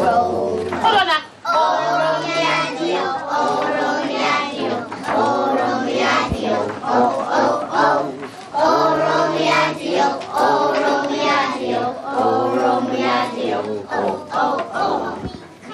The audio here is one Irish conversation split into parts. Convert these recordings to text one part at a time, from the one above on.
Ro.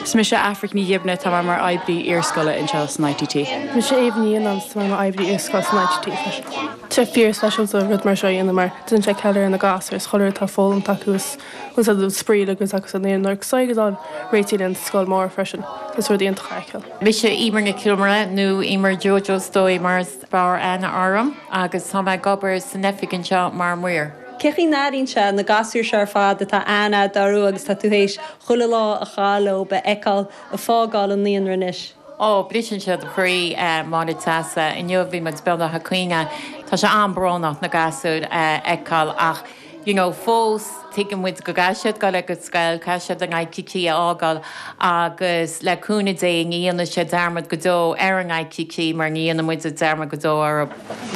Is mise Aifric Ní Ghibne, tá mé mar oibrí iarscoile anseo san ITT. Mise Éabha Ní Fhionnáin, tá mé mar oibrí iarscoile san ITT freisin. Tá sé fíor-speisialta rud mar seo a dhéanamh mar déanann sé ceiliúradh ar na gasúir is chuile rud atá foghlamtha acu is Agus spraoi agus agus an aon nuair agus an réitigh an scoil mór freisin. Is rud iontach a fheiceáil. Mise Emer Nic Iomaire, nó Emer Jojo is dóigh mar is fearr aithne orm, agus tá mé ag obair san oifig anseo mar maor. Cén chaoi a n-airíonn sé na gasúir seo ar fad atá aithne agat orthu agus tá tú théis chuile lá a chaitheamh leo a fheiceáil ag fágáil an naíonra anois? Ó, briseann sé do chroí, a Mháire Treasa. Inniu bhí muid beagnach ag caoineadh. Tá sé an-brónach na gasúir a fheiceáil ach you know fós tuigeann muid go gcaithfidh siad dul ag an scoil, caithfidh siad an ITT a fhágáil agus le cúnamh Dé ní dhéanfaidh siad dearmad go deo ar an ITT mar ní dhéanfaidh muide dearmad go deo orthu.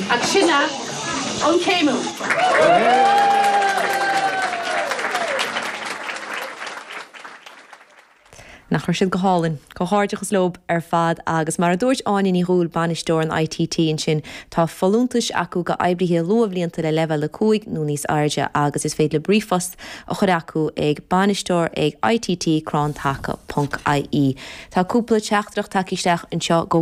Agus sin é an céimiú. Nach raibh siad go hálainn? Comhghairdeachas leob ar fad agus mar a dúirt Áine Ní Dhúill, bainisteoir an ITT ansin, tá folúntais acu go oibrithe luathbhlianta le leibhéal 5 nó níos airde agus is féidir libh ríomhphost a chur acu ag bainisteoir ag itt crann taca ponc ie. Tá cúpla teachtaireacht tagtha isteach anseo go.